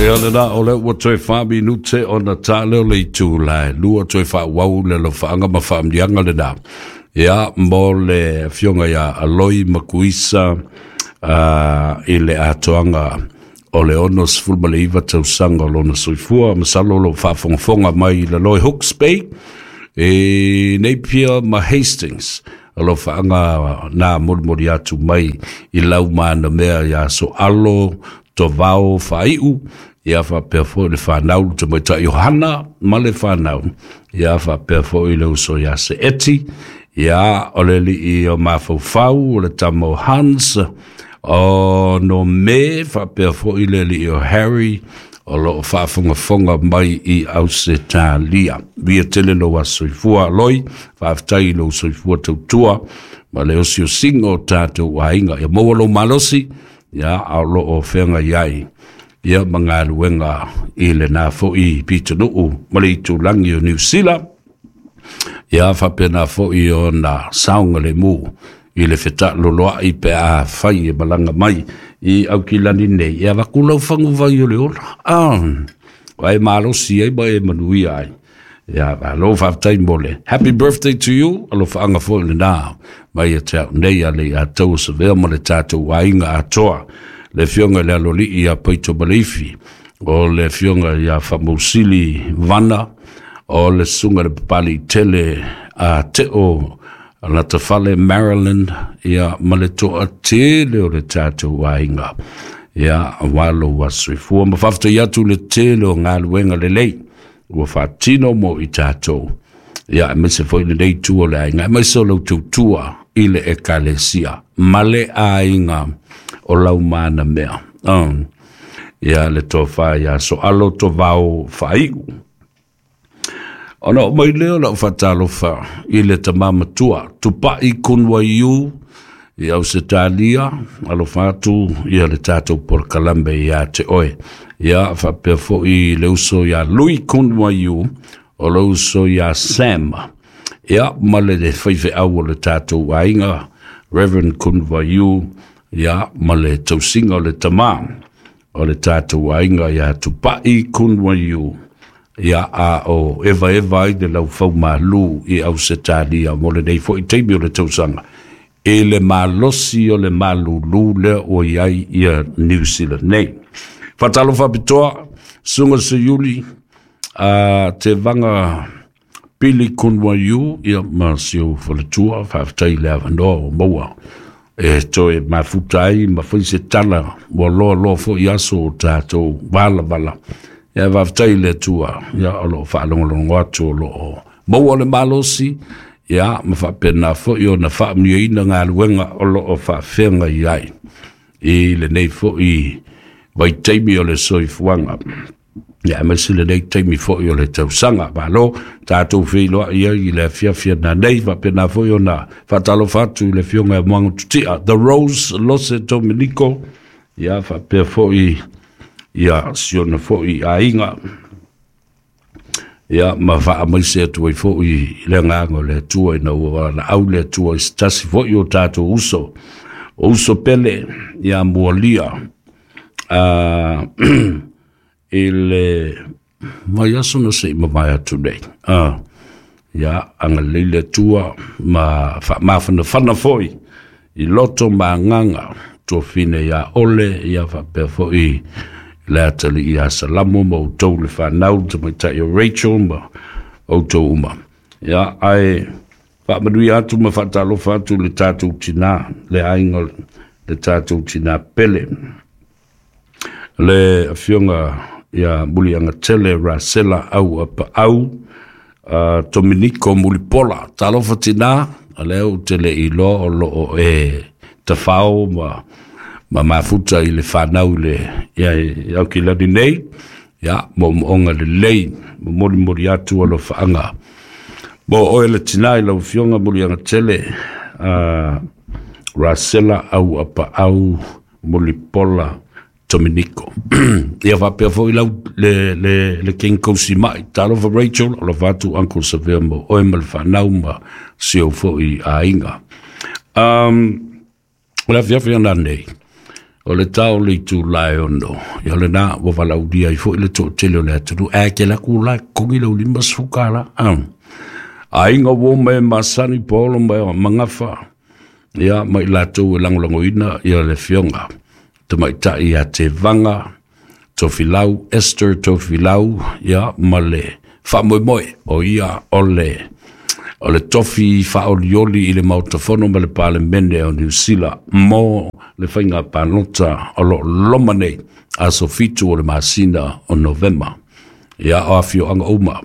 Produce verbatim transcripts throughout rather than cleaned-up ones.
Ia lena o le ua toe wha minute ona tā leo le itu lae. Lua toe wha wau le lofaanga ma whaamnianga lena. Ia mo le fionga ia Aloi Makuisa uh, i le atoanga o le ono sefulu ma le iva tausaga o lona soifua. Masalo o lo faafogafoga mai i le Loi Hooks Bay e Napier ma Hastings. O lo faanga na molimoli atu mai i lau mana mea ia so alo tovao faaiu. Ia faapea foi le whanau le tamaitai Yohana ma le whanau. Ia faapea foi le uso ia se eti. Ia o le lii o mafaufau o le tama o Hans o no me faapea foi le lii o Harry o loo faafogafoga mai i Ausetalia. Via tele lou aso soifua loi, faafetai i lou soifua tautua ma le osiosiga o tatou aiga. Ia maua lou malosi, ia a o loo feagai ai ia ma galuega i lena fo'i pitonuu ma le itulagi o Niu Sila. Ia faapena fo'i ona saogalemu i le fetaʻaloloaʻi pe a fai e malaga mai i Aukilani nei. Ia avaku lau faguvai o le ola ah, ai malosi ai ma e manuia ai. Ia malo faafetai mo le happy birthday to you. Alofaaga foʻi lenā mai ia te au nei a le ia tau savea ma le tatou aiga atoa. Le fionga le alolii ia Paito Maleifi, o le fionga ia Famausili Vana, o le sunga le papali tele a Teo Latafale Maryland, ia ma le toa tele o le tatou aiga. Ia walo wa soifua ma faafetai atu le tele o galuega lelei ua faatino mo i tatou. Ia aemaise foi lenei itu o le aiga, aemaise o lau tautua i le ekalesia ma le aiga o lau mana mea. Um, ia le tofa ia so alo tovao faaiu. Ona o mai leo lau fatalofa i le tamamatua Tupai Kunwaiu i Ausetalia, alofa atu ia le tatou polokalame ia te oe. Ia faapea foi le uso ia Lui Kunwaiu, o le uso ia Sam. Ia ma le faifeau o le tatou aiga Reverend Kunwaiu, ia ma le tausiga o le tamā o le tatou aiga ia Tupai Kunwaiu. Ia a o eva eva ai le laufau malu i Ausetalia mo lenei fo'i taimi o le tausaga e le malosi o le malulu lea ua iai ia New Zealand nei. Faatalofa pitoa suga seiuli a te vaga Pili Kunwaiu ia ma si ou faletua. Faafetai le avanoa o maua e toe mafuta ai ma fai se tala ua loa loa fo'i aso o tatou valavala. Ia faafetai le Atua ia o loo faalogologo atu o loo maua le malosi ia ma faapena fo'i ona faamanuiaina galuega o loo faafeagai ai i lenei fo'i vaitaimi o le soifuaga. Ia aemaise lenei taimi fo'i o le tausaga. Malo tatou feiloai ai i le afiafi nanei. Faapena foi ona faatalofa atu i le afioga ia Moaga Tutia The Rose Lose Dominico. Ia faapea fo'i ia siona fo'i aiga. Ia ma faamaise atu ai fo'i i le agaga o le Atua ina ua valaau le Atua i se tasi fo'i o tatou uso o uso pele ia Mualia uh, i le mai aso na sei mavae atu nei. Uh, ia agalelei le Atua ma faamafanafana fo'i i loto ma agaga tuafine ia Ole. Ia faapea fo'i le atalii ia Salamo ma outou le whanau tamaitai o Rachel ma outou uma. Ia ae faamanuia atu ma faatalofa atu le tatou tinā le aiga le tatou tinā pele le afioga ia Muliagatele Rasela au Apaau uh, Dominico Mulipola. Talofa tinā, a lea ou te le iloa o loo e tafao ma ma mafuta i le whanau le ia i Aukilani nei. Ia moomooga lelei momolimoli atu alofaga mo oe le tinā i lau afioga Muliagatele uh, Rasela au Apaau Mulipola Dominico. Ia faapea fo'i lau le, le, le King Kausima'i. Talofa Rachel, alofa atu Uncle Savea mo oe ma le whanau ma si ou fo'i aiga. Um, o le afiafi ana nei. O le tau le itu lae ono. Ia le nā ua valaulia i fo i le tō tele o le atunu. E ke la ku la kongi lau lima suka la. Aiga ua me masani polo mai o mangafa. Ia mai latou e lagolagoina ia le afioga tamaitai ia Tevaga Tofilau, Esther Tofilau, ia ma le faamoemoe o ia o le o le tofi faaolioli i le Maota Fono ma le Palemene o Niu Sila mo le faiga palota o loo loma nei, aso fitu o le masina o Novema. Ia o afioaga uma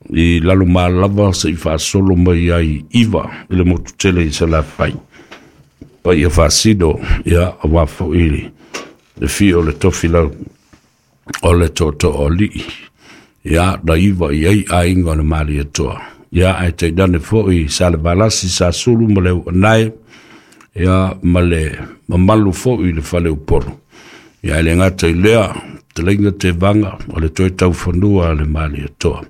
i lalo malava seʻi faasolo mai ai iva i le motu tele i Salafai paia faasino, ia auā foʻi le fio o le tofilau o le tootoo alii, ia na iva i ai aiga o le Malietoa, ia ae tainane foʻi Salevalasi, Sasulu ma le Uanae, ia ma le mamalu foʻi i le fale Upolu. Ia e le gata i lea talaiga Tevaga o le toe taufanua a le Malietoa,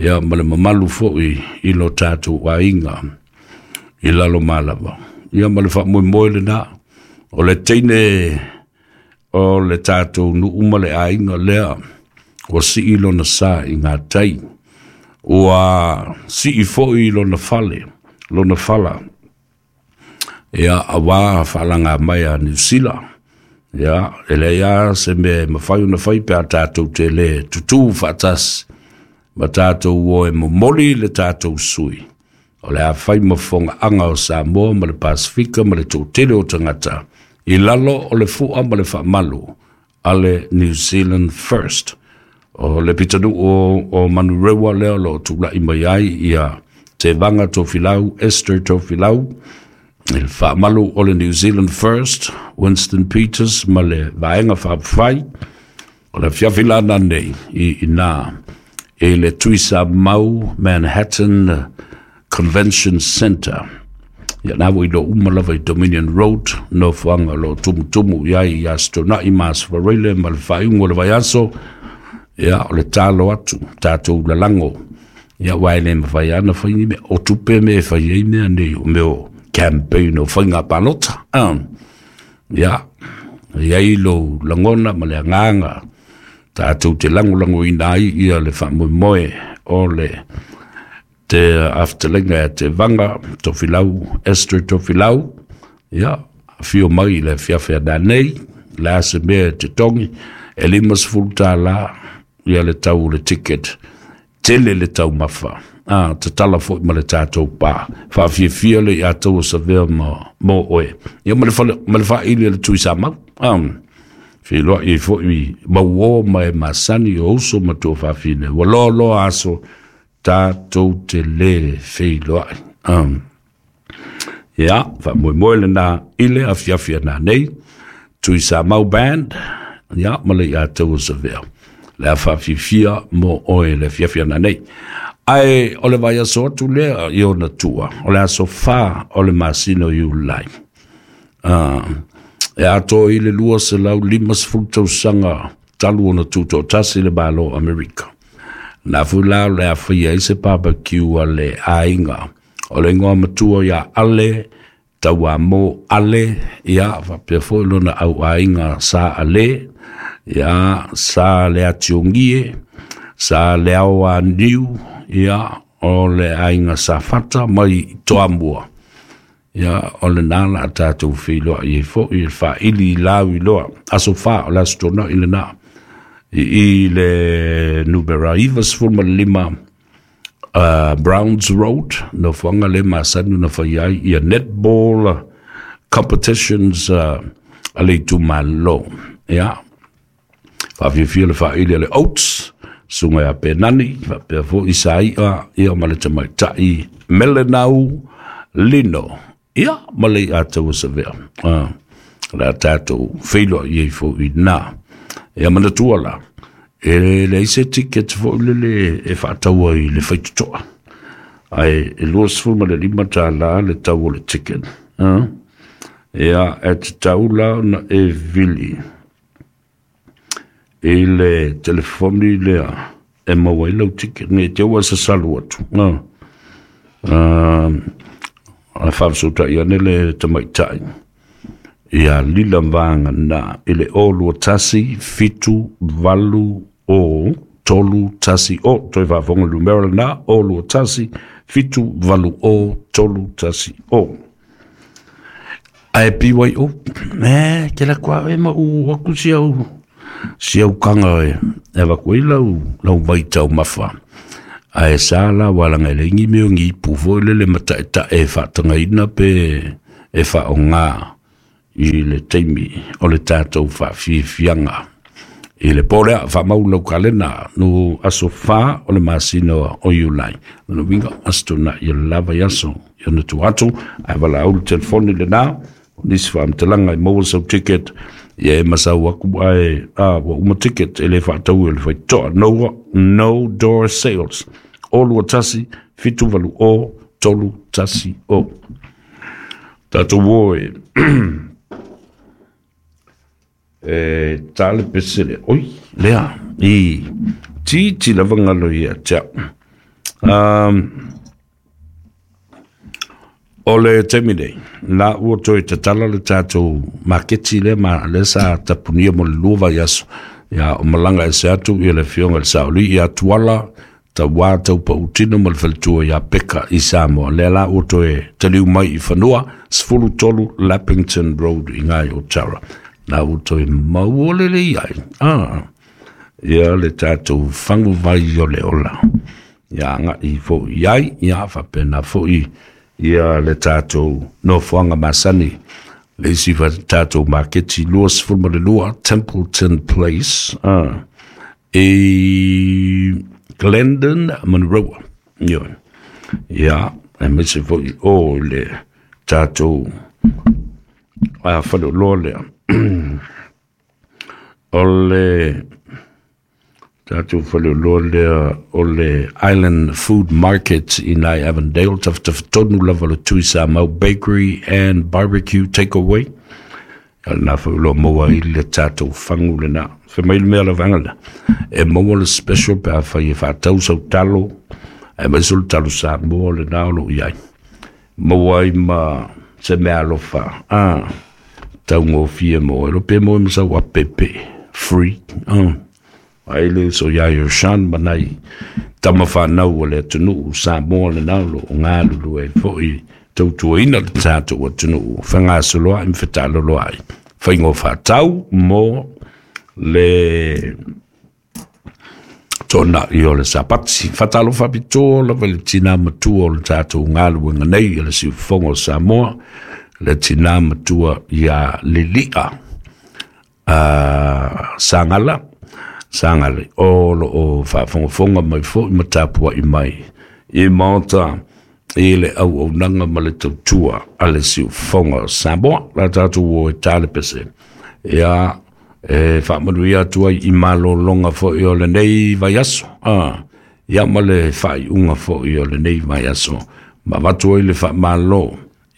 ia ma le mamalu foʻi i lo tatou aiga i lalo malava, ia ma le faamoemoe lenā o le teine o le tatou nuu ma le aiga lea ua sii lona sa i gatai, ua sii foʻi lona fale lona fala, ia auā faalaga mai a Niu Sila. Ia e leai a se mea e mafai ona fai pe a tatou te lē tutū faatasi ma tatou o e momoli le tatou sui o le a fai ma fogaaga o Samoa ma le Pasifika ma le toatele o tagata i lalo o le fua ma le faamalu a le New Zealand First. O le pitanuu o, o Manurewa lea o loo tulaʻi mai ai ia Tevaga Tofilau, Esther Tofilau, i le faamalu o le New Zealand First, Winston Peters ma le vaega faapafai o le afiafi lana nei i ina i le Tuisamau Manhattan Convention Center. Ia na ua iloa uma lava i Dominion Road, nofoaga o loo tumutumu i ai i Aso Toonai ma Aso Faraile ma le faaiuga o le vaiaso. Ia o le talo atu tatou lalago, ia ua e le mafai ana fai ni mea o tupe me e fai ai mea nei o mea o campaign o faiga palota. um, ia i ai lou lagona ma le agaga tatou te lagolagoina ai ia le faamoemoe o le te aftalega e Tevaga Tofilau, Esther Tofilau. Ia afio mai i le afiafi ananei le a se mea e te togi e lima sefulu tālā ia le tau o le ticket, tele le taumafa a tatala foʻi ma le tatou pā faafiafia le ia tou o savea ma mo oe, ia ma le fale ma le faaili le Tuisamau um, feiloai ai foʻi mauō ma e masani o uso ma tuafafine ua loaloa aso tatou te lē feiloai. um, ia faamoemoe lenā i le afiafi ananei Tuisamau Band, ia ma le ia tou o savea le a faafifia mo oe le afiafi ananei. Ae o le vaiaso atu lea i ona tua o le aso fā o le masina o Iulai, uh, e atoa i le lua selau lima sefulu tausaga talu ona tutoatasi le Malo Amerika. Na fui la o le a faia ai se barbecue a le aiga o le igoa matua ia Ale Tauamo Ale, ia faapea foʻi lona au aiga Sa Ale, ia Sa le Atiogie, Sa le Ao Aniu, ia o le aiga Safata mai Toamua. Ia o lenā la a tatou feiloai ai foʻi e faaili i lau iloa aso fā o le Aso Toonai lenā i i le numera iva sefulu ma le lima uh, Browns Road, nofoaga le masani ona fai ai ia netball competitions uh, a le itumālo. Ia faafiafia le faaili a le Oats suga ia Penani faapea foʻi Saiʻa, ia ma le tamaitai Melenau Lino, ia ma le ia taua savea uh, le a tatou feiloai ai foʻi na. Ia manatua la e leai se ticket foʻi lele e faataua i le faitotoa ae e lua sefulu ma le lima tālā le tau o le ticket. uh. Ia e tatau la ona e vili i le telefoni lea e maua ai lau ticket nei te ua sasalu atu. uh. Uh, a faafesotaʻi ane le tamaitai Ia lila vaga na i le o lua tasi fitu valu o tolu tasi o. Toe faafofoga numera lena, o lua tasi fitu valu o tolu tasi o. Ae B Y O, e ke la kua e ma u aku si au si au kanga e e vaku i lau lau vai tau mafa. Ae sa la walanga le ngi me ngi pu fo le le mata e ta e faatangaina pe e faonga i le taimi o le tatou faafiafiaga. I le po lea faamau lau kalena no aso fa o le masina o Iulai. Lona uiga aso tuanai ia le lava i aso i ona tu atu, ae valaau le telefoni lena, o nisi faamatalaga e maua sau ticket, ia e masau aku ae a ua uma ticket e le faataua e le faitotoa. No, no door sales. O lua tasi, fitu valu o, tolu tasi o. Tatou o e e tale pesele. Oi, lea, i titi lava ngalo ia tia. Um, o le taimi nei, la ua toe tatala le tatou maketi lea ma le sa tapunia mo le lua vaiaso. Ia o malaga e se atu ia le afioga i le Saoli ia Tuala, tauā taupautino ma le faletua ia Peka i Samoa. Lea la ua toe taliu mai i fanua, sefulu tolu Lappington Road i ngai o Tara. La ua toe maua lelei ai. Ah, ia le tatou faguvai o le ola. Ia agai foʻi ai, ia faapena foʻi ia le tatou nofoaga masani. Le isi fa tatou maketi lua sefulu ma le lua Templeton Place, ah, i Glendon Monroe. Ioe. Ia, aemaise foʻi o le tatou a faleoloa lea. O le tatou faleoloa lea o le Island Food Market i nai Avondale, tafatafatonu lava le Tui Samoa Bakery and Barbecue Takeaway. Ia lena foi o lo o maua ai le tatou fagu lena. Fai mai le mea lavaga lena, e maua le special pe afai e faatau sau talo, aemaise o le talo Samoa lena o loo i ai. Maua ai ma se mea alofa, ah, taugofie mo e lo pe mo e masau a pepe, free, ah. Ai le so ia yo shan manai tama whanau o le atunuu Samoa lena o loo galulue ai foʻi tautuaina le tatou atunuu fegasoloaʻi ma fetaloloaʻi faiga o faatau mo le tonaʻi o le Sapati. Faatalofa faapitoa lava i le tinā matua o le tatou galuega nei i le siufofoga o Samoa, le tinā matua ia Lili'a uh, Sagala Sagale o loo faafogafoga mai foʻi ma tapuaʻi mai i maota i le auaunaga ma le tautua a le siufofoga o Samoa. La tatou o e tale pese. Ia e faamanuia atu ai i malologa foʻi o lenei vaiaso. Ah, ia ma le faaiuga foʻi o lenei vaiaso. Ma avatu ai le faamalo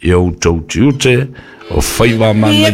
i outou tiute o faiva manaia.